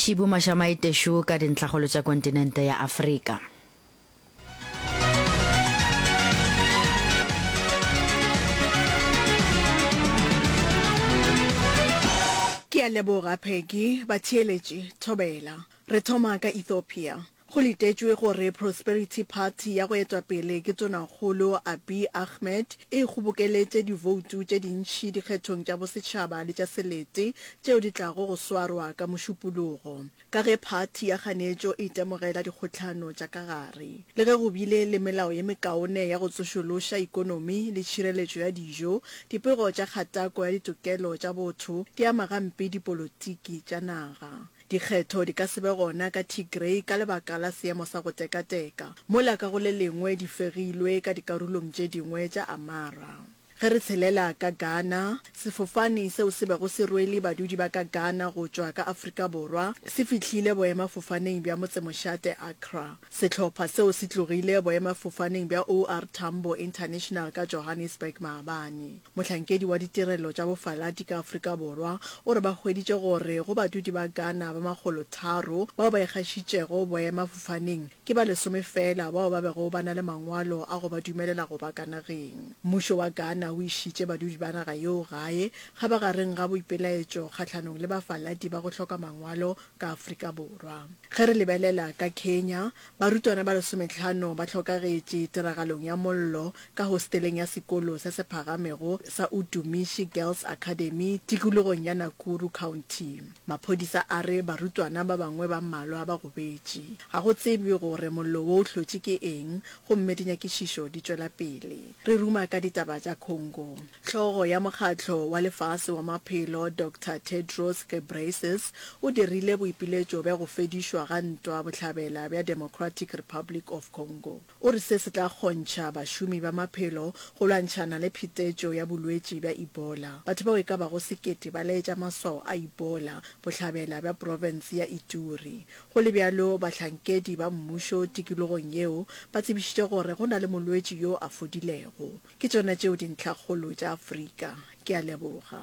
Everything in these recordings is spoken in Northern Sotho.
Šibu Mašamaite-Shu ka dintlhakgolo tša kontinente ya Afrika. Ke a leboga, Peggy. Batheeletši, thobela. Re thoma ka Ethiopia. Go letetšwe gore Prosperity Party ya go etwa pele ke Tonakgolo Abiy Ahmed e kgobokeletše divoutu tše dintši dikgethong tša bosetšhaba le tša selete tšeo di tlago go swarwa ka Mošupologo, ka ge phathi ya kganetšo e itemogela dikgohlano tša ka gare. Le ge go bile le melao ye mekaone ya go tsošološa ikonomi le tšhireletšo ya dijo, dipego tša kgatako ya ditokelo tša botho di ama gampe dipolotiki tša naga. Dikgetho di ka se be gona ka Tigray ka lebaka la seemo sa go tekateka, mola ka go le lengwe di fegilwe ka dikarolong tše dingwe tša Amhara. Ge re tshelela ka Ghana, sefofane seo se bego se rwele badudi ba ka Ghana go tšwa ka Afrika Borwa se fihlile boemafofaneng bja motsemošate Accra. Sehlopha seo se tlogile boemafofaneng bja OR Tambo International ka Johannesburg maabane. Mohlankedi wa ditirelo tša bofaladi ka Afrika Borwa o re ba hweditše gore go badudi ba Ghana ba makgolotharo bao ba ikgašitšego boemafofaneng, ke ba lesome feela bao ba bego ba na le mangwalo a go ba dumelela go ba ka nageng. Mmušo wa Ghana o išitše badudi ba naga yeo gae kgabagareng ga boipelaetšo kgahlanong le bafaladi ba go hloka mangwalo ka Afrika Borwa. Ge re lebelela ka Kenya, barutwana ba lesometlhano ba hlokagetše tiragalong ya mollo ka hosteleng ya sekolo se se phagamego sa Utumishi Girls Academy tikologong ya Nakuru County. Maphodisa a re barutwana ba bangwe ba mmalwa ba gobetše. Ga go tsebje gore mollo wo o hlotše ke eng gomme dinyakišišo di tšwela pele. Re ruma ka ditaba tša Congo. Hlogo ya Mokgatlo wa Lefase wa Maphelo, Doctor Tedros Ghebreyesus, o dirile boipiletšo bja go fedišwa ga ntwa bohlabela bja Democratic Republic of Congo. O re se se tla kgontšha bašomi ba maphelo go lwantšhana le phetetšo ya bolwetši bja Ebola. Batho bao e ka bago sekete ba laetša maswao a Ebola bohlabela bja profense ya Ituri. Go le bjalo, bahlankedi ba mmušo tikologong yeo ba tsebišitše gore go na le molwetši yo a fodilego. Ke tšona tšeo dintlhakgolo tša Afrika. Ke a leboga.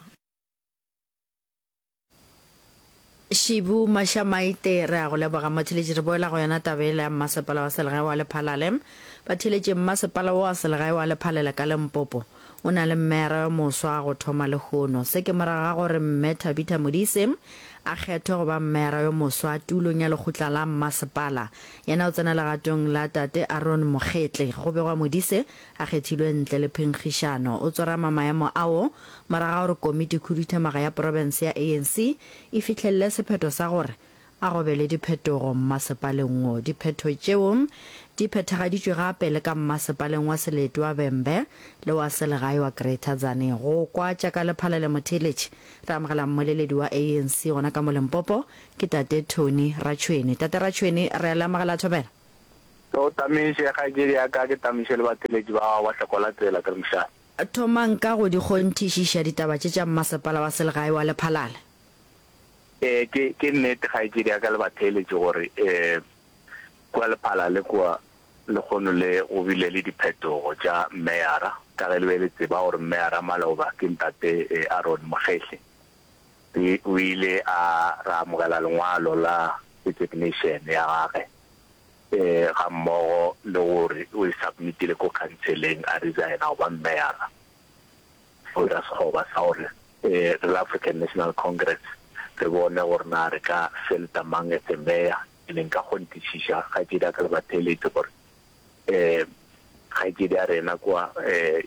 Šibu Mašamaite, Re a go leboga motheeletši. Re boela go yona taba yela ya mmasepala wa selegae wa Lephalale. Batheeletši, mmasepala wo wa selegae wa Lephalale ka Limpopo o na le mmeyara yo moswa go thoma lehono. Se ke morago ga gore Mme Thabitha Modise a kgethwe go ba mmeyara yo moswa tulong ya lekgotla la mmasepala. Yena o tsena legatong la Tate Aaron Mokgetle. Go begwa Modise a kgethilwe ntle le phenkgišano. O tsorama maemo ao morago ga gore komiti khuduthamaga ya profense ya ANC e fihlelele sephetho sa gore a go be le diphetogo mmasepaleng wo. Diphetho tšeo di phethagaditšwe gape le ka mmasepaleng wa selete wa Vhembe le wa selegae wa Greater Tzaneen. Go kwa tša ka Lephalale Motheeletši, re amogela mmoleledi wa ANC gona ka mo Limpopo, ke Tate Tony Ratšhwene. Tate Ratšhwene, re a le amogela thobela. Ke go tamiše, kgaetšedi ya ka, ke tamiše le batheeletši ba gago ba hlokola tsela, ke re mošate. Thomang ka go di kgonthišiša ditaba tše tša mmasepala wa selegae wa Lephalale. Ee, ke, ke nnete, kgaetšedi ya ka le batheeletši, gore ee, kua Lephalale kua lehono le go bile le diphetogo tša mmeyara, ka ge le be le tseba gore mmeyara maloba ke ntate Aaron Mokgehle. O ile a ra amogela lengwalo la resignation ya gage. Gammogo le gore o e submitile ko khanseleng a resigna go ba mmeyara. Go dira sekgoba sa gore re le African National Congress re bone gore na re ka fielda mang as a mayor. Ene nka kgonthišiša kgaetšedi ya ka le batheeletši gore kgaetšedi ya rena kwa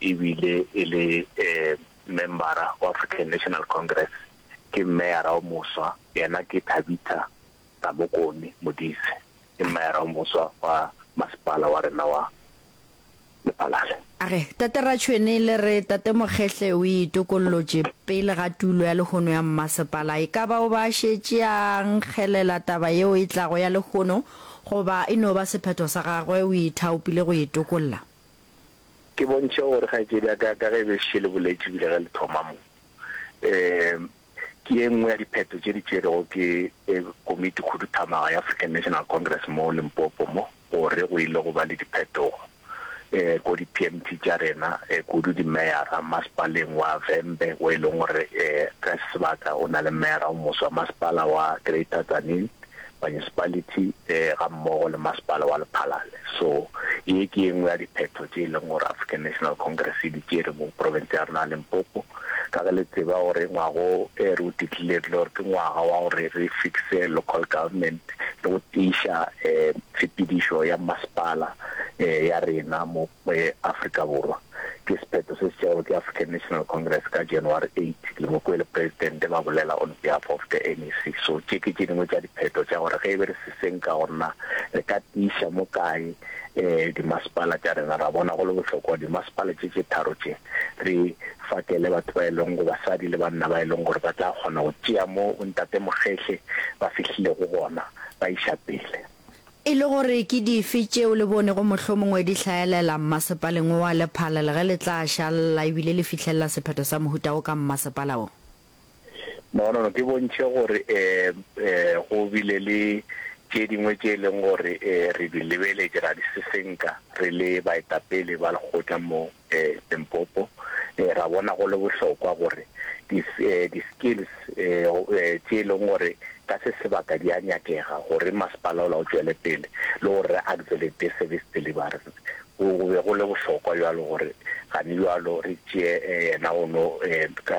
e bile e le membara wa African National Congress, ke mmeyara o moswa, yena ke Thabitha Ramokone Modise. Ke mmayara o moswa wa masepala wa rena wa Lephalale. A re, Tate Ratšhwene le re Tate Mokgehle o itokollotše pele ga tulo ya lehono ya mmasepala. E ka ba o ba a šetše a nkgelela taba yeo e tlago ya lehono goba e no ba sephetho sa gagwe o ithaopile go itokolla? Ke bontšhe gore kgaetšedi ya ka, ka ge e be šetše le boletše ebile ge le thoma mo, um Ke ye nngwe ya diphetho tše di tšerwego ke Komiti Khuduthamaga ya African National Congress mo Limpopo mo gore go ile go ba le diphetogo ko di-PMT tša rena, kudu dimeyara masepaleng wa Vhembe wo e leng gore ka se sebaka o na le meyara o moswa, masepala wa Greater Tzaneen. Municipality ga mmogo le Masepala wa Lephalale. So ye ke ye nngwe ya diphetho tše e leng gore African National Congress e di tšere mo profense ya rena ya Limpopo. Ka ge le tseba gore ngwaga o re o declarile gore ke ngwaga wa gore re fixe local government le go tiiša tshepedišo ya masepala ya rena mo Afrika Borwa. Ke sephetho se se tšerwego ke African National Congress ka January 8, le mo kwele Presidente ba bolela on behalf of the NEC. So tše ke tše dingwe tša diphetho tša gore ge e be re se senka gore na re ka tiiša mo kae dimasepala tša rena, ra bona go le bohlokwa gore dimasepala tše tše tharo tše re fakele batho ba e leng go basadi le banna ba e leng gore ba tla kgona go tšea mo bontate Mokgehle ba fihlilego gona ba iša pele. E le gore ke dife tšeo le bonego mohlomongwe di hlaelela mmasepaleng wo wa Lephalale ge le tla šalela ebile le fihlelela sephetho sa mohuta wo ka mmasepala wo? No, no, no, ke bontšhe gore um go bile le tše dingwe tše e leng gore re di lebeletše ra di sesenka re le baetapele ba lekgotla mo Limpopo, ra bona go le bohlokwa gore di-skills tše e leng gore ka se sebaka di a nyakega gore masepala ola o tšwele pele le gore re accelerate service delivery. Go be go le bohlokwa bjalo gore gane bjalo re tšee yena ono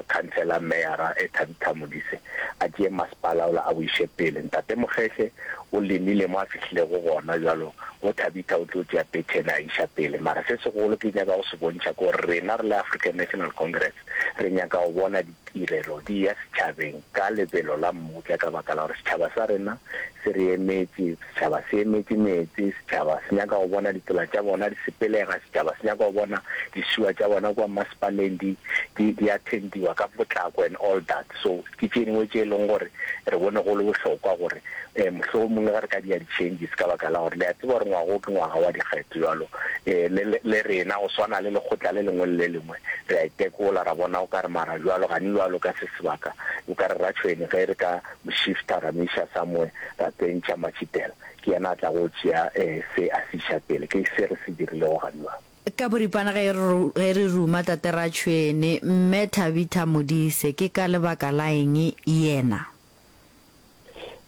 Councillor Meyara Thabitha Modise a tšee masepala ola a o iše pele. Ntate Mokgehle o lemile mo a fihlilego gona bjalo Bo Thabitha o tlo tšea pattern a iša pele. Mara se segolo ke nyaka go se bontšha ke gore rena re le African National Congress re nyaka go bona ditirelo di eya setšhabeng ka lebelo la mmutla ka baka la gore setšhaba sa rena se re emetše, setšhaba se emetše meetse, setšhaba se nyaka go bona ditsela tša bona di sepelega, setšhaba se nyaka go bona dišiwa tša bona kua mmasepaleng di, di, di attendiwa ka potlako and all that. So ke tše dingwe tše e leng gore re bone go le bohlokwa gore mohlomongwe ge re ka dia di-changes ka baka la gore le a tseba gore ngwaga o ke ngwaga wa dikgetho bjalo le, le rena go swana le lekgotla le lengwe le le lengwe re a itekola ra bona o ka re mara bjalo gane bjalo ka se sebaka o ka re Ratšhweni ge re ka mo shifta ra mo iša somewhere ra tsentšha Matšhitela ke yena a tla go tšea se a se iša pele ke se re se dirilego gane bjalo. Ka boripana ge ge re ruma Tate Ratšhwene, Mme Thabitha Modise ke ka lebaka la eng yena?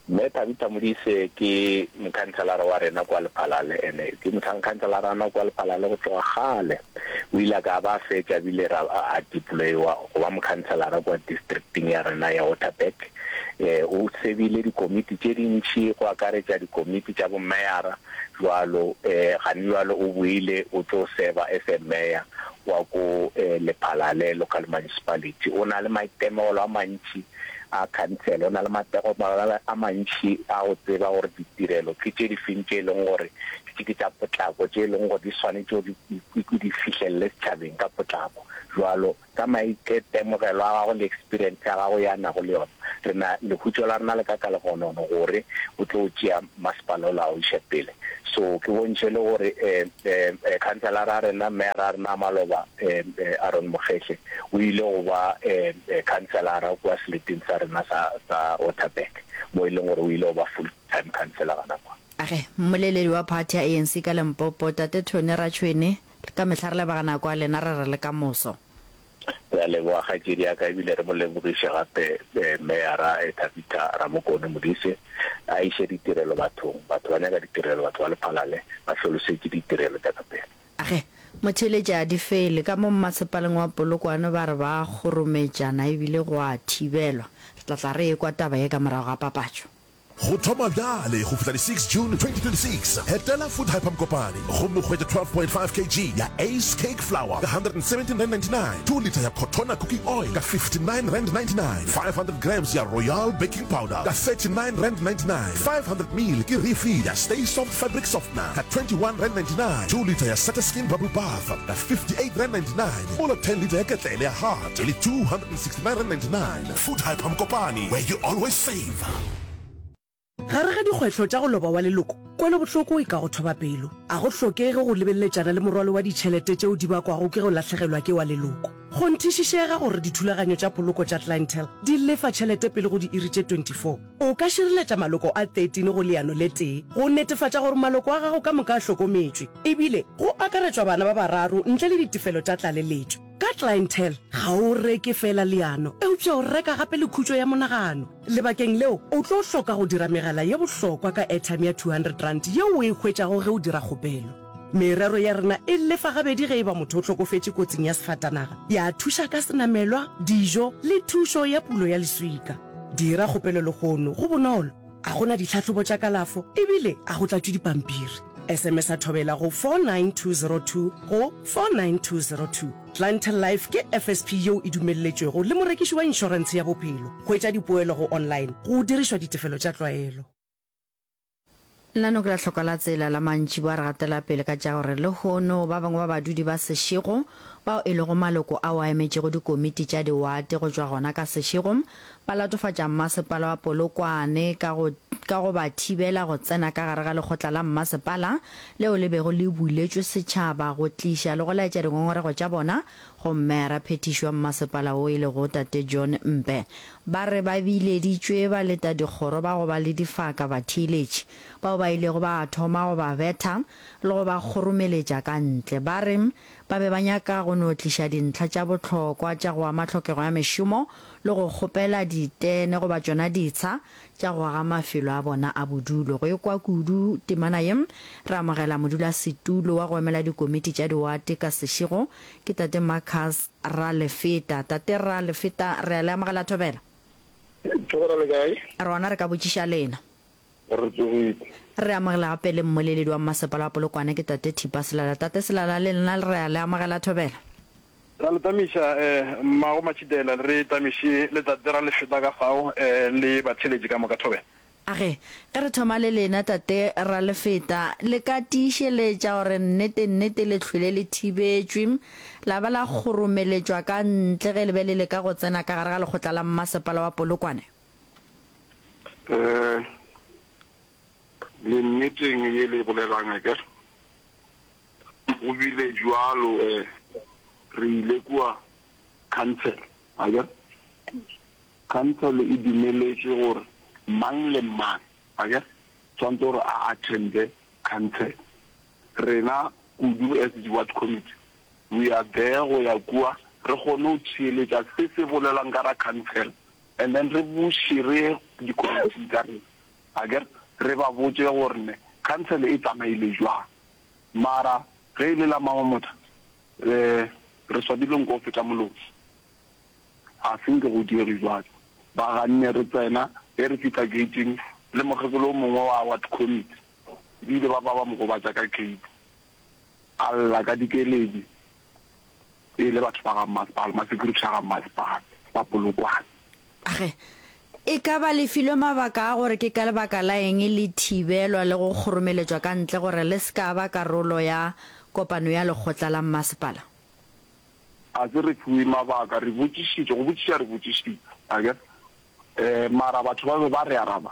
Mme Thabitha Modise ke mokhanselara wa rena kwa Lephalale ene ke mokhanselara wa rena kwa Lephalale go tloga kgale. O ile a ka ba a fetša bile ra a deployiwa go ba mokhanselara kwa districting ya rena ya Waterberg. O sebile dikomiti tše dintši go akaretša dikomiti tša bomeyara bjalo gane bjalo o boile o tlo serva as a mayor wa ko Lephalale local municipality. O na le maitemogelo a mantši a khansele, o na le maitemogelo a mantši a go tseba gore ditirelo ke tše difeng tše e leng gore ke tša potlako, tše e leng gore di swanetše gore di fihlelele setšhabeng ka potlako. Bjalo ka maitemogelo a gagwe le experience ya gagwe ye a nago le yona, re na lehutšo la rena le ka ka legonono gore o tlo tšea masepala ola a o iše pele. So ke bontšhe le gore khanselara ya rena, meyara ya rena ya maloba Aaron Mokgehle o ile go ba khanselara kua seleteng sa rena sa sa Waterberg mo e leng gore o ile go ba full time councillor gona kwa. Age, mmoleledi wa phathi ya ANC ka Limpopo, Tate Tony Ratšhwene, Ka mehla re leboga nako ya lena, re re le ka moso. Re a leboga kgaetšedi ya ka ebile re mo lebogiše gape Meyara Thabitha Ramokone Modise a iše ditirelo bathong. Batho ba nyaka ditirelo, batho ba Lephalale ba hlolosetše ditirelo tša ka pele. Age, motheeletši a di fele. Ka mo mmasepaleng wa Polokwane ba re ba kgorometšana ebile go a thibelwa. Re tla tla re ekwa taba ye ka morago ga papatšo. Go thoma bjale go fihla di 6 June 2026, etela Food Hyper Mokopane gomme o hwetše 12.5 kg ya Ace Cake Flour ka R117.99, 2 litre ya Cotona Cooking Oil ka R59.99, 500 grams ya Royal Baking Powder ka R39.99, 500 ml ke refill ya Stay Soft Fabric Softener ka R21.99, 2 litre ya Sataskin Bubble Bath ka R58.99, mola 10 litre ya ketlele ya Hart e le R269.99. Food Hyper Mokopane, where you always save. Gare ga dikgwetlho tša go loba wa leloko, kwelobohloko e ka go thoba pelo. A go hlokege go lebeletšana le morwalo wa ditšhelete tšeo di bakwago ke go lahlegelwa ke wa leloko. Kgonthišišega gore dithulaganyo tša poloko tša Clientele di lefa tšhelete pele go diiri tše 24. O ka šireletša maloko a 13 go leano le tee go netefatša gore maloko a gago ka moka a hlokometšwe, ebile go akaretšwa bana ba bararo ntle le ditefelo tša tlaleletšo. Ka Clientele, ga o reke feela leano, eupša o reka gape le khutšo ya monagano. Lebakeng leo, o tlo hloka go dira megala ye bohlokwa ka airtime ya R200 yeo o e hwetšago ge o dira kgopelo. Merero ya rena e lefa gabedi ge e ba motho o hlokofetše kotsing ya sefatanaga, ya thuša ka senamelwa, dijo le thušo ya pulo ya leswika. Dira kgopelo lehono, go bonolo, ga go na ditlhahlobo tša kalafo ebile ga go tlatšwe dipampiri. SMS-a Thobela go 49202 go 49202. Clientele Life ke FSP yeo e dumelletšwego le morekiši wa inšorentshe ya bophelo. Hwetša dipoelo go online go dirišwa ditefelo tša tlwaelo. Lenaneo ke la Hloka la Tsela la mantšiboa re gatela pele ka tša gore lehono ba bangwe ba badudi ba Seshego bao e lego maloko ao a emetšego dikomiti tša diwate go tšwa gona ka Seshego ba latofatša mmasepala wa Polokwane ka go ka go ba thibela go tsena ka gare ga lekgotla la mmasepala leo le bego le buletšwe setšhaba go tliša le go laetša dingongorego tša bona go mmeara phethiši wa mmasepala wo e lego Tate John Mpe. Ba re ba bileditšwe ba leta dikgoro ba go ba le difaka batheeletši bao ba ilego ba thoma go ba betha le go ba kgoromeletša ka ntle. Ba re ba be ba nyaka go no tliša dintlha tša bohlokwa tša go ama tlhokego ya mešomo le go kgopela ditene goba tšona ditsha tša go aga mafelo a bona a bodulo. Go ekwa kudu temana ye, re amogela modulasetulo wa go emela dikomiti tša diwate ka sešego, ke Tate Marcus Ralefeta. Tate Ralefeta, re a le amogela Thobela. Thobela le kae? Re gona re ka botšiša lena. Re tsogile. Re amogela gape le mmoleledi wa mmasepala wa Polokwane ke Tate Thipa Selala. Tate Selala le lena re a le amogela Thobela. Ra le tamiša mmago Matšhitela, re tamiše le tate ra le feta ka fao le batheeletši ka moka. Thobela. A re, Ge re thoma le lena, Tate Ralefeta, le ka tiišeletša gore nnete-nnete le hlwele le thibetšwe, la ba la kgoromeletšwa ka ntle ge le be le leka go tsena ka gare ga lekgotla la mmasepala wa Polokwane? Eh, le nneteng ye le e bolelang, akere? Go bile bjalo, eh, re ile kua council, akere? Council e dumeletše gore mang le mang, akere, tshwanetse gore a attende council. Rena kudu as di ward committee, we are there go ya kua re kgone go theeletša se se bolelwang ka ra council and then re buše re ye di-committee tša rena, akere, re ba botše gore ne council e tsamaile jwang. Mara ge e le la Mamamotha, re re swabile nko go feta molomo. Ga se nke go diege bjalo. Ba ganne re tsena, ge re fihla gate-ing, le mokgekolo o mongwe wa ward committee, ba ile ba ba ba mo gobatša ka gate. A lla ka dikeledi, e le batho ba ga mmasepala, ma-security a ga mmasepala ba Polokwane. Ge e ka ba le filwe mabaka a gore ke ka lebaka la eng le thibelwa le go kgoromeletšwa ka ntle gore le se ka ba karolo ya kopano ya lekgotla la mmasepala. Ga se re fiwe mabaka, re botšišitše, go botšiša re botšišitše, akere? Um mara batho ba be ba re araba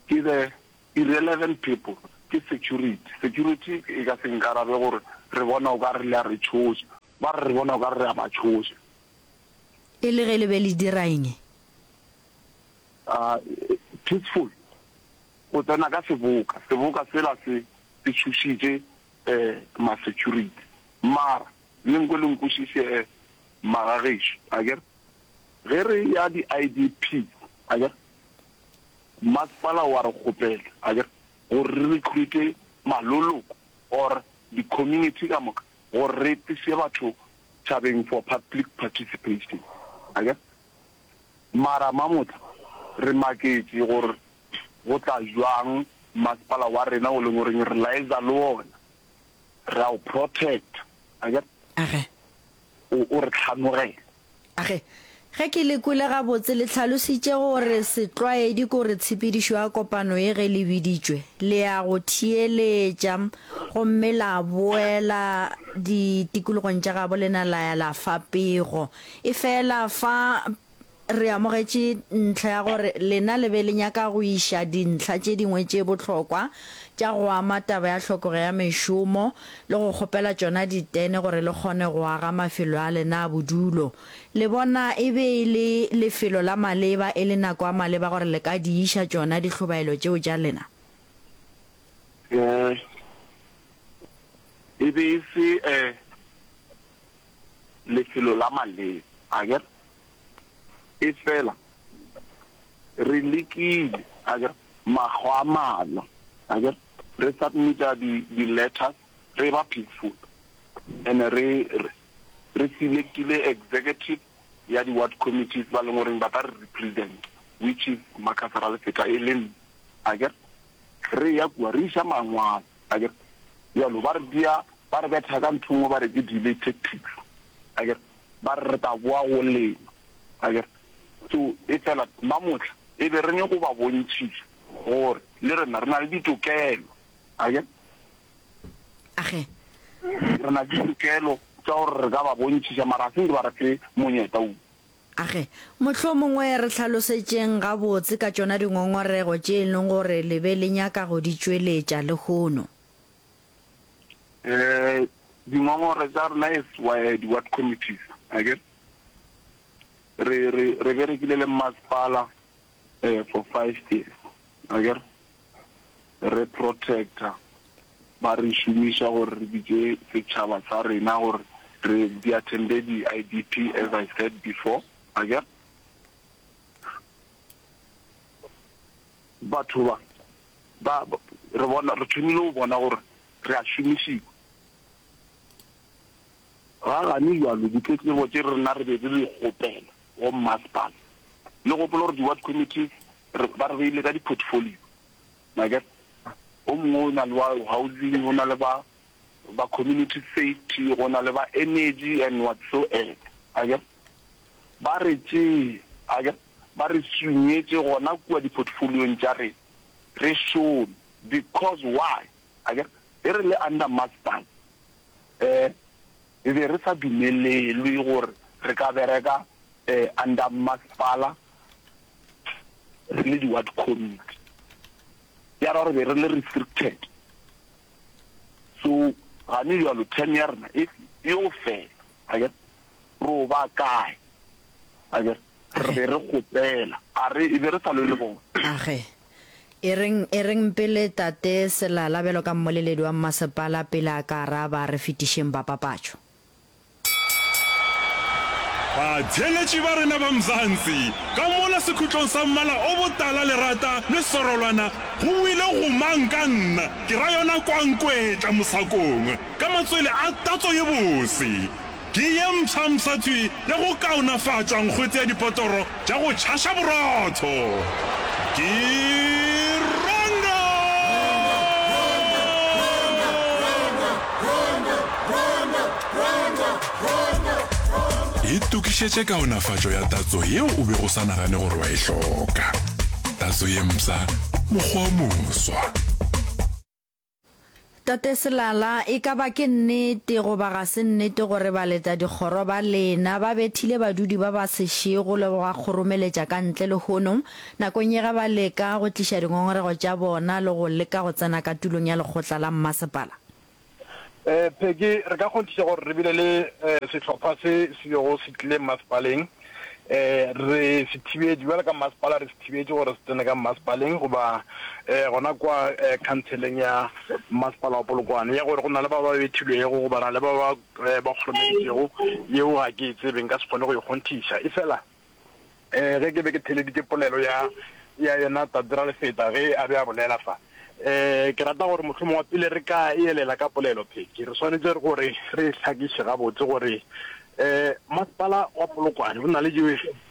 ke the irrelevant people, ke security. Security e ka se nkarabe gore re bona o ka re le a re tšhoša, ba re re bona o ka re re a ba tšhoša. E le ge le be le dira eng? Uh, peaceful, go tsena ka seboka, seboka sela se se tšhošitše um ma-security. Mara le nkwe le nkwešiše um magagešo, akere ge re ya di-I_D_P, akere masepala wa re kgopela, akere gore re recruit-e maloloko or di-community ka moka gore re tliše batho tšhabeng for public participation, akere mara mamotla re maketše gore go tla bjang masepala wa rena o leng goreng re liaisa le ona, re a o protecta, akere Age. o, o re hlanogela. Age. Ge ke le kwele gabotse, le hlalositše gore setlwaedi ke gore tshepedišo ya kopano ye ge le biditšwe, le ya go theeletša gomme la boela ditikologong tša gabo lena la ya la fa pego. Efela fa Re amogetše ntlha ya gore lena le be le nyaka go iša dintlha tše dingwe tše bohlokwa tša go ama taba ya tlhokego ya mešomo le go kgopela tšona ditene gore le kgone go aga mafelo a lena a bodulo. Le bona e be e le lefelo la maleba, e le nako ya maleba gore le ka di iša tšona dihlobaelo tšeo tša lena? E be e se. lefelo la maleba, akere? Efela re lekile, akere, makgwa a malwa, akere, re submit-a di, di letters, re ba peaceful, and re, re, re selectile executive ya di ward committees ba leng goreng ba tla re represent, which is Marcus Ralefeta e le nna, akere. Re ya kua, re iša mangwalo, akere. Bjalo ba re dia, ba re betha ka ntho nngwe ba re ke delay tactics, akere. Ba re re tla boa go lena, akere. So efela mamohla e be re nyako ba bontšhiša gore le rena re na le ditokelo, akere. Age. Re na le ditokelo tša gore re ka ba bontšhiša, mara ga se nke ba re fe monyetla wo. Age. Mohlomongwe re hlalosetšeng gabotse ka tšona dingongorego tše e leng gore le be le nyaka go di tšweletša lehono. Eh, dingongore tša rena as di-ward committees, akere, re, re, re berekile le mmasepala eh, for five years, akere, re protector, ba re šomiša gore re bitše setšhaba sa rena gore re di attende di-I_D_P as I said before, akere. Batho ba, ba, re bona, re thomile go bona gore re a šomišiwa. Ga gane bjalo ditletlebo tše rena re be re di kgopela go mmasepala, le gopola gore di-ward committees re, ba re beile ka di-portfolio. Akere o mongwe o na le wa housing, go na le ba ba community safety, go na le ba energy and whatsoever. Akere ba re tšee, akere ba re sunyetše gona kua di-portfoliong tša rena, re šome. Because why? Akere ge re le under masepala, um re be re sa dumelelwe gore re ka bereka um under masepala re le di-ward committee. Ya ra gore be re le restricted. So gane bjalo term ya rena e yo fela, akere ro ba kae? Akere re be re kgopela, a re e be re sa lwe le bona. Age. E reng, e reng pele Tate Selala bjalo ka mmoleledi wa mmasepala pele a ka araba, re fetišeng ba papatšo. Batheeletši ba rena ba Mzansi, ka mola sekhutlong sa mmala o botala lerata le sorolwana go wile gomang ka nna, ke ra yona kwankwetla mosakong ka matswele a tatso ye bose. Ke ye mpshampsha thwi ya go kaonafatša nkgwete ya dipotoro tša go tšhaša borotho. Ke Rondo! Itokišetše kaonafatšo ya tatso yeo o bego o sa nagane gore wa e hloka. Tatso ye mpsha, mokgwa o moswa. Tate Selala, e ka ba ke nnete goba ga se nnete gore baletadikgoro ba lena ba bethile badudi ba ba sešego le go ba kgoromeletša ka ntle lehono nakong ye ge ba leka go tliša dingongorego tša bona le go leka go tsena ka tulong ya lekgotla la mmasepala? Peggy, re ka kgonthiša gore re bile le sehlopha se se bego se tlile mmasepaleng. Re se thibetše, bjalo ka mmasepala re se thibetše gore se tsene ka mmasepaleng goba gona kwa khanseleng ya mmasepala wa Polokwane. Ya gore go na le ba ba bethilwego goba na le ba ba ba kgoromeditšego, yeo ga ke e tsebe, nka se kgone go e kgonthiša. Efela Ge ke be ke theeleditše polelo ya, ya yena Tate Ralefeta ge a be a bolela fa, ke rata gore mohlomongwe pele re ka e elela ka polelo Peggy, re swanetše gore re e hlakiše gabotse gore Masepala wa Polokwane o na le di,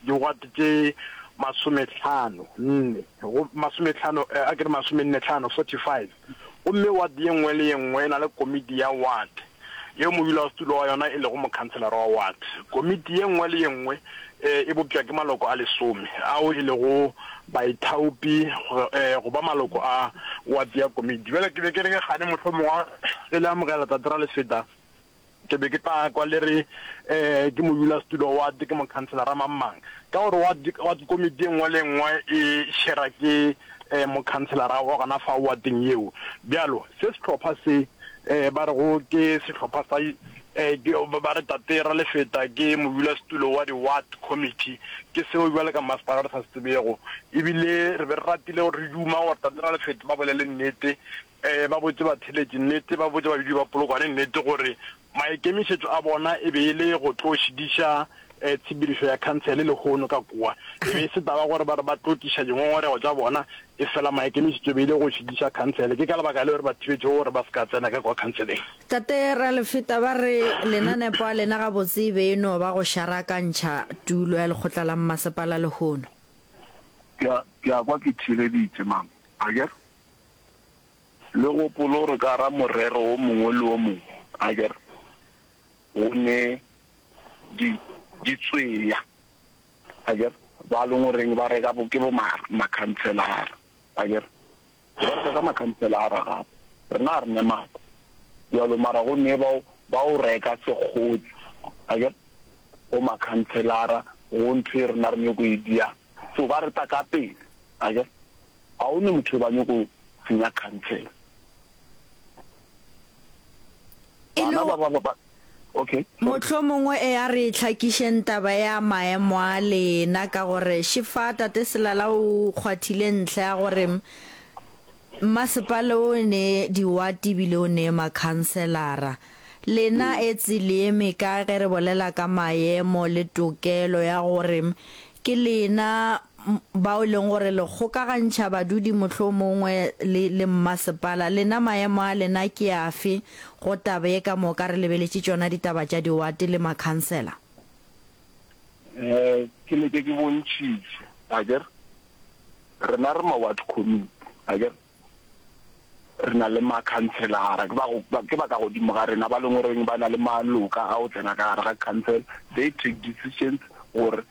diwate tše masomehlano nne, go, masomehlano, a ke re masomennehlano, 45. Gomme ward ye nngwe le ye nngwe e na le komiti ya ward yeo modulasetulo wa yona e lego mokhanselara wa ward. Komiti ye nngwe le ye nngwe e bopša ke maloko a lesome ao e lego baithaopi go ba maloko a ward ya komiti. Bjale ke be ke re ke gane mohlomongwe ge le amogela Tate Ralefeta, Ke be ke tla kwa le re ke modulasetulo wa ward, ke mokhanselara mang-mang. Ka gore ward, ward komiti e nngwe le e nngwe e shera ke mokhanselara wa gona fa wardeng yeo. Bjalo, se sehlopha se ba rego ke sehlopha sa, ke, ba re Tate Ralefeta ke modulasetulo wa di-ward committee, ke seo bjale ka masepala re sa se tsebego. Ebile re be re ratile gore re duma gore Tate Ralefeta ba bolele nnete, Ba botše batheeletši nnete, ba botše badudi ba Polokwane nnete gore. Maikemišetšo a bona e be e le go tlo šidiša tshepedišo ya khansele lehono ka kua. E be e se taba gore ba re ba tlo tliša dingongorego tša bona, efela maikemišetšo e be e le go šidiša khansele. Ke ka lebaka leo re ba thibetšego gore ba se ka tsena ka kua khanseleng. Tate Ralefeta ba re lenanepo a lena gabotse e be e no ba go šarakantšha tulo ya lekgotla la mmasepala lehono. Ke a, ke a kwa ke theeleditše, mama. Akere? Le gopole gore ka gara morero wo mongwe le wo mongwe, akere, go ne di, ditsweya, akere, ba leng goreng ba reka bo, ke bo ma, makhanselara, akere. Ba reka ka makhanselara gape. Rena ga re ne maatla bjalo, mara go ne bao ba o reka sekgotsi, akere, go makhanselara, go ntho e rena re nyoko e diang. So ba re taka pele, akere. Ga o ne motho yo ba nyoko senya khansele. E le Bana ba ba ba okay, sorry. Mohlomongwe e a re hlakišeng taba ya maemo a lena ka gore šefa Tate Selala o kgwathile ntlha ya gore mmasepala o ne diwate ebile o ne makhanselara. Lena etse le eme kae ge re bolela ka maemo le tokelo ya gore ke lena bao e leng gore le kgokagantšha badudi mohlomongwe le, le mmasepala? Lena maemo a lena ke afe go taba ye ka moka re lebeletše tšona ditaba tša diwate le makhansela? Eh, ke leke ke bontšhitše, akere rena re ma-ward committee, akere Re na le makhanselara, ke ba go, ke ba ka godimo ga rena ba leng goreng ba na le maloka a go tsena ka gare ga council, they take decisions gore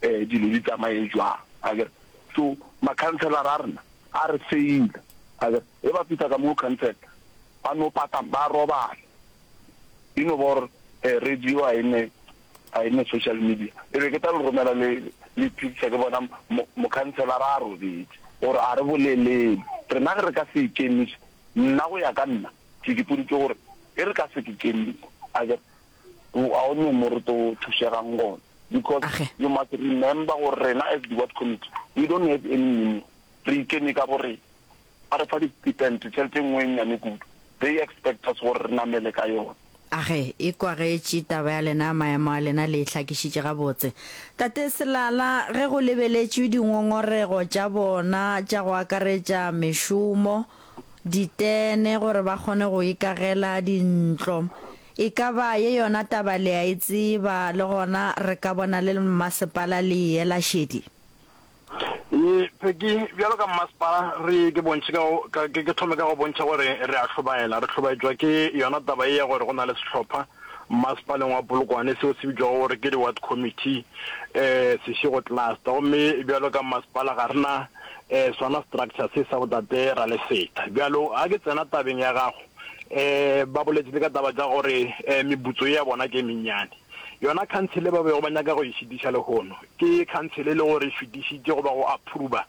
um dilo di tsamaye jwang, akere. So makhanselara a rena a re faila, akere. Ge ba fihla ka mo council ba no pata, ba robala. E no ba gore radio ga e ne, ga e ne social media. E be ke tla le romela le, le picture ke bona mo, mokhanselara a robetše, gore a re boleleng. Rena ge re ka se ikemiše, nna go ya ka nna, ke ipoditše gore ge re ka se ke kemiše, akere, ga go ne mo re tlo thušegang gona. Because Age. you must remember gore rena as the ward committee, we don't have any union. Re ikeme ka borena. Ba re fa di-stipend, tšhelete e nngwe e nnyane kudu. They expect us gore re namele ka yona. Age, e kwagetše taba ya lena, maemo a lena le e hlakišitše gabotse. Tate Selala, ge go lebeletšwe dingongorego tša bona tša go akaretša mešomo, ditene gore ba kgone go ikagela dintlo, e ka ba ye yona taba le a e tseba le gona re ka bona le mmasepala le e ela šedi? Ee, Peggy, bjalo ka mmasepala re ke bontšhe ka go, ka, ke, ke thome ka go bontšha gore re a hlobaela. Re hlobaetšwa ke yona taba ye ya gore go na le sehlopha mmasepaleng wa Polokwane seo se bitšwago gore ke di-ward committee, eh, Seshego Cluster. Gomme bjalo ka mmasepala ga re na eh, sona structure se sa botate Ralefeta. Bjalo ga ke tsena tabeng ya gago, eh, ba boletše le ka taba tša gore eh, meputso ye ya bona ke e mennyane. Yona khansele ba bego ba nyaka go e šitiša lehono ke khansele e le gore e fetišitše goba go approva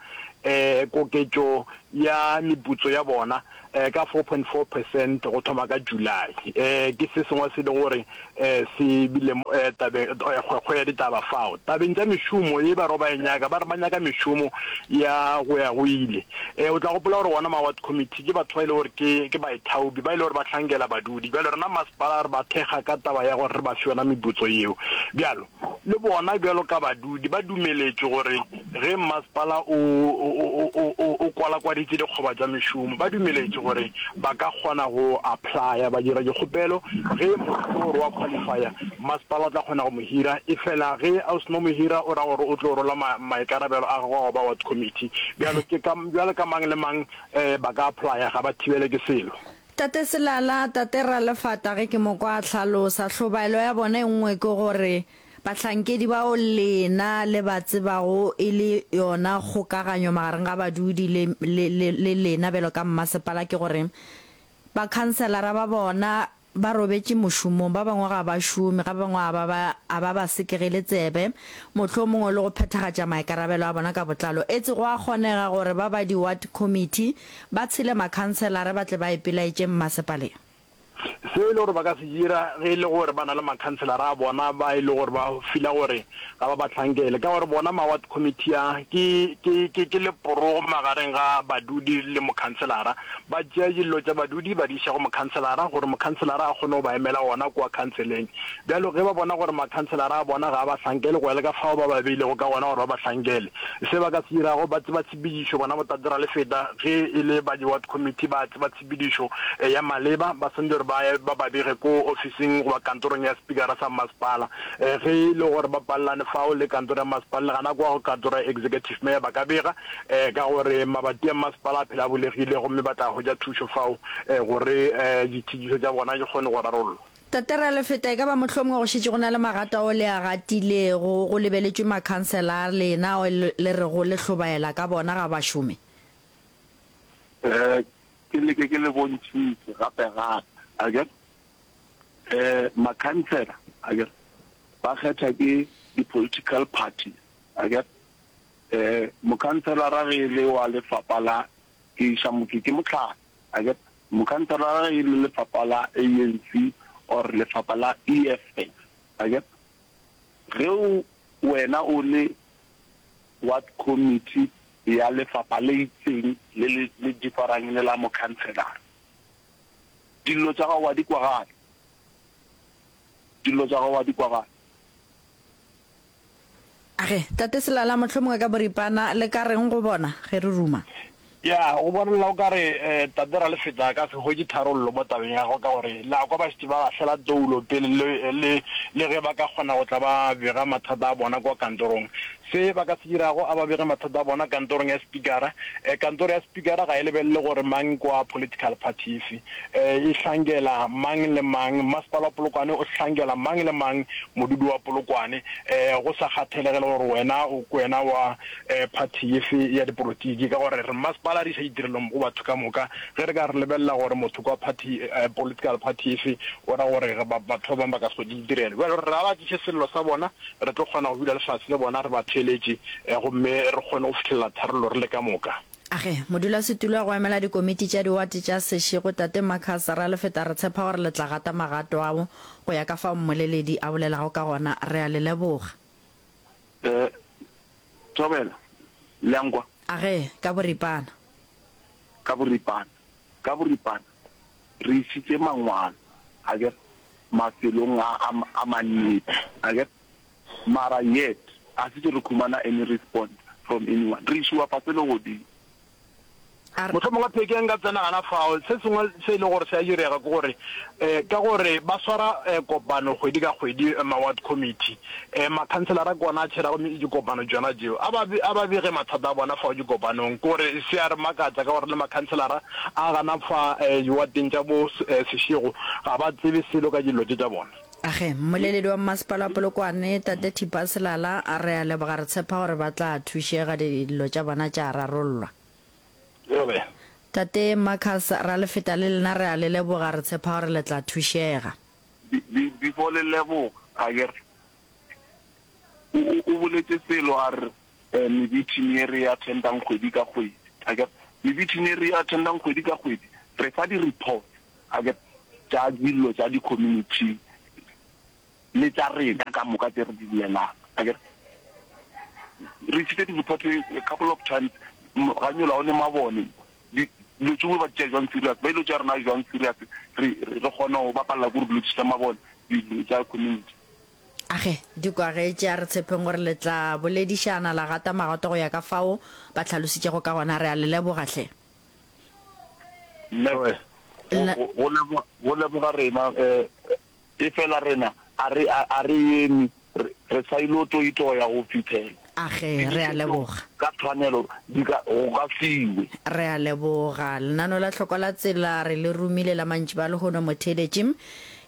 um koketšo ya meputso ya bona um ka 4.4 percent go thoma ka July. Um ke se sengwe se e lego gore um se bile um tabeng kgwekgwe ya ditaba fao. Tabeng tša mešomo ye ba rego ba e nyaka, ba re ba nyaka mešomo ya go ya go ile. Um o tla gopola gore wona ma-ward committee ke batho ba e le gore ke ke baithaopi ba e le gore ba hlankela badudi. Bjalo rena masepala re ba thekga ka taba ya gore re ba fe yona meputso yeo. Bjalo le bona bjalo ka badudi ba dumeletšwe gore ge mmasepala o, o, o, o, o kwalakwaditše dikgoba tša mešomo, ba dumeletšwe gore ba ka kgona go applya, ba dira dikgopelo. Ge motho o re wa qualifya, mmasepala o tla kgona go mo hira. Efela ge o seno mo hira, o ra gore o tlo rola ma, maikarabelo a gagwe a go ba ward committee. Bjalo ke ka, bjalo ka mang le mang, um ba ka applya, ga ba thibele ke selo. Tate Selala, Tate Ralefata ge ke mo kwa a hlalosa, hlobaelo ya bona e nngwe ke gore bahlankedi bao lena le ba tsebago e le yona kgokaganyo magareng ga badudi le, le, le, le lena bjalo ka mmasepala ke gore bakhanselara ba bona ba robetše mošomong, ba bangwe ga ba šome, ga ba bangwe a ba ba, a ba ba sekegele tsebe, mohlomongwe le go phethagatša maikarabelo a bona ka botlalo. Etse go a kgonega gore ba ba di-ward committee ba tshele makhanselara ba tle ba ipelaetše mmasepaleng. Se e le gore ba ka se dira ge e le gore ba na le makhanselara a bona ba e le gore ba fila gore ga ba ba hlankele, ka gore bona ma-ward committee a ke, ke, ke, ke leporogo magareng ga badudi le mokhanselara. Ba tšea dillo tša badudi ba di iša go mokhanselara gore mokhanselara a kgone go ba emela gona kua khanseleng. Bjalo ge ba bona gore makhanselara a bona ga a ba hlankele go ya le ka fao ba ba beilego ka gona gore ba ba hlankele, se ba ka se dirago ba tseba tshepedišo, bona botate Ralefeta ge e le ba di-ward committee ba tseba tshepedišo ya maleba, ba swanetše gore ba ye ba ba bege ko ofising goba kantorong ya spikara sa mmasepala. Ge e le gore ba palelane fao le kantoro ya mmasepala le gana kwa go kantoro ya executive mayor ba ka bega ka gore mabati a mmasepala a phela a bulegile gomme ba tla hwetša thušo fao gore ditšhitišo tša bona di kgone go rarollwa. Tate Ralefeta, e ka ba mohlomongwe go šetše go na le magato ao le a gatilego go lebeletšwe makhansela a lena ao le rego le hlobaela ka bona ga ba šome? Eh, ke leke ke le bontšhitše gape gape, akere? Eh, makhansela, akere, ba kgetha ke di-political parties, akere? Eh, mokhanselara ge e le wa lefapha la, ke iša motho ke mohlala, akere? Mokhanselara ge e le lefapha la ANC or lefapha la EFF, akere? Ge o, wena o le ward committee ya lefapha le itseng le le le differang le la mokhanselara, dillo tša gago wa di kwagala, dillo tša gago wa di kwagala. Age, Tate Selala, mohlomongwe ka boripana le ka reng go bona ge re ruma? Ya, go bonala o ka re Tate Ralefeta a ka se hwetše tharollo mo tabeng ya gagwe ka gore le a kwa ba šetše ba lahlela toulo pele le, le, le ge ba ka kgona go tla ba bega mathata a bona kwa kantorong. Se ba ka se dirago, a ba bege mathata a bona kantorong ya spikara. Kantoro ya spikara ga e lebelele gore mang ke wa political party efe. E hlankela mang le mang. Mmasepala wa Polokwane o hlankela mang le mang modudi wa Polokwane, go sa kgathelege le gore wena o ke wena wa phathi efe ya dipolotiki. Ka gore re mmasepala re iša ditirelo go batho ka moka. Ge re ka re lebelela gore motho ke wa phathi, political party efe, o ra gore batho ba bangwe ba ka se hwetše ditirelo. Bjale re a ba tliše sello sa bona, re tlo kgona go dula le fase le bona re ba theeletše gomme re kgone go fihlelela tharollo re le ka moka. Age, modulasetulo wa go emela dikomiti tša diwate tša Seshego, Tate Marcus Ralefeta re tshepa gore le tla gata magato ao go ya ka fao mmoleledi a bolelago ka gona. Re a le leboga. Eh, Thobela, le a nkwa? Age, ka boripana. Ka boripana, ka boripana, re isitše mangwalo, akere, mafelong a, a, a mannete, akere, mara yet a se tše re khumana any response from anyone. Re išiwa fase le godimo. A re. Mohlomongwe pheke nka tsena gana fao. Se sengwe se e lego gore se a direga ke gore ka gore ba swara kopano kgwedi ka kgwedi ma ward committee, makhanselara ke ona a tšherago dikopano tšona tšeo. A ba a ba bege mathata a bona fao dikopanong. Ke gore se a re makatša ka gore le makhanselara a gana fa diwateng tša bo Seshego ga ba tsebe selo ka dillo tše tša bona. Age, mmoleledi wa mmasepala wa Polokwane, Tate Thipa Selala, a re a leboga re tshepa gore ba tla thušega dillo tša bona tša rarollwa. Tate Marcus Ralefeta le lena re a le leboga re tshepa gore le tla thušega. Before le leboga akere o o boletše selo a re meeting ye re e attendang kgwedi ka kgwedi akere meeting ye re e attendang kgwedi ka kgwedi re fa di reports akere tša dillo tša di community le tša rena ka moka tše re di bolelang akere re isitše di report a couple of times ga nyola o ne mabone dilo tšengwe ba tšea jwang serious ba ilo tšea rena jwang serious re re kgona go bapalela ko re dilo tša mabone dilo tša community Age, di kwagetše, a re tshepeng gore le tla boledišana la gata magato go ya ka fao ba hlalositšego ka gona. Re a le leboga hle. Mme, go, go, go leboga rena, eh, Efela rena a re, a re eme, re, re sa ilo toitoya go fihlela. Age, re a leboga. Ka tshwanelo di ka, go ka fiwe. Re a leboga. Lenaneo la Hlokwa la Tsela re le romile la mantšiboa a lehono motheeletši.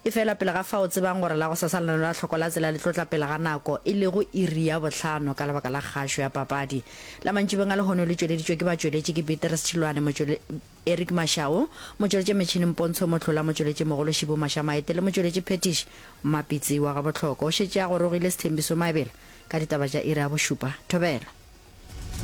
Efela pele ga fao tsebang gore la gosasa lenaneo la Hlokwa la Tsela le tlo tla pele ga nako, e lego iri ya bohlano ka lebaka la kgašo ya papadi. La mantšibeng a lehono le tšweleditšwe ke batšweletši ke Beatrice Tšhilwane, motšwele. Eric Mashau, motšweletši metšhineng Pontsho Mohlola, motšweletši mogolo Šibu Mašamaete le motšweletši Phetiši Mmapitsi wa Gabohloko. O šetše a gorogile Sthembiso Maebela ka ditaba tša iri ya bošupa. Thobela.